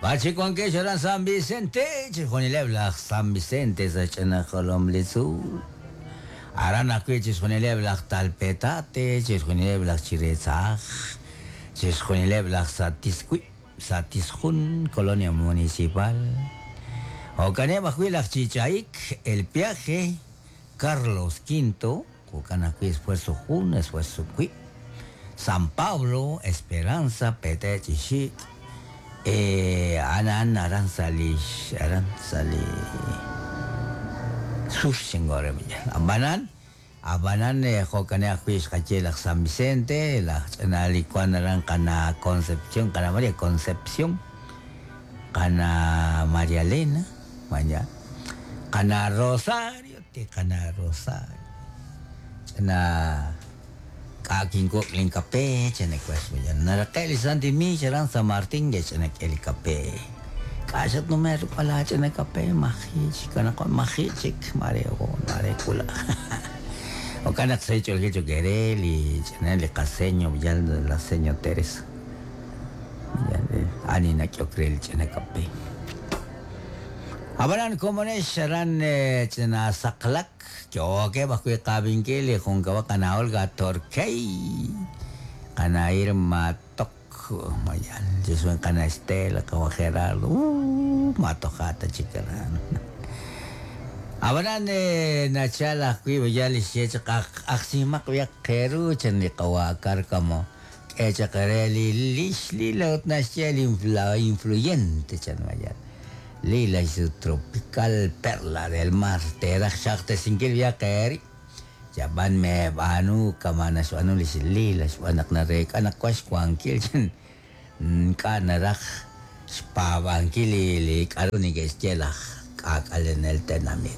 B'ar chik wankex aran San Vicente, chixjunileb' laj San Vicente sa' xch'ina jolom li tzuul. Aran ajwi' chixjunileb' laj Talpetate, chixjunileb' laj Chiretzaj, chixjunileb' laj Satiswi, Satisjun, Colonia Municipal. Jo'kaneb' ajwi' laj Chichaik, El Piaje, Carlos V, jo'kan ajwi' Esfuerzo Jun, Esfuerzo Wib', San Pablo, Esperanza, Pete' chi xik', a'an a'an aran sa' li aran sa' li sur xingore ab'anan ab'anan jo'kaneb' ajwi' xqaye laj San Vicente, laj ch'ina li wan aran qana Concepción, qana María Concepción, qana María Elena, vaya, qana Rosario, ti qana Rosario. Ch'ina k'a' kinkuk' linkape chana wax vaya. Naraqe' li Santi Mix aran San Martín ch'ina k'e li kape. K'a' xatnume' ruk'b'al laa ch'ina kape maji' chik anaqwan maji' chik mare hoon mare wulaj. Jo'kan naq sa' xch'oolil cho'q eere li ch'ina li qaseño yal la seño Teresa. Ani nak'ehok re li ch'ina kape. Ab'anan komonex aran ch'ina saqlak yookeb' ajwi' qaabinkil li junkab'al qana Olga Torquey, qana Irma Tok, mayan chixjunil qana Estela, qawa' Gerardo, matoja ta chik aran. Ab'anan nachal ajwi' yal li xye chaq ajsimaq b'ayaq qeeru chan li qawa' Cárcamo k'e chaq re li lix Lila ut naxye li influyente chan mayan. Lila y su tropical perla del mar teeraj xaqtesinkil b'ayaq eeri yab'an meeb'aanu kama' naxb'aanu lix Lila xb'aan naq nareek'a naq wan xwankil chan ink'a' naraj xpaab'ankil li k'aru neke'xye laj k'aak'alenel tenamit.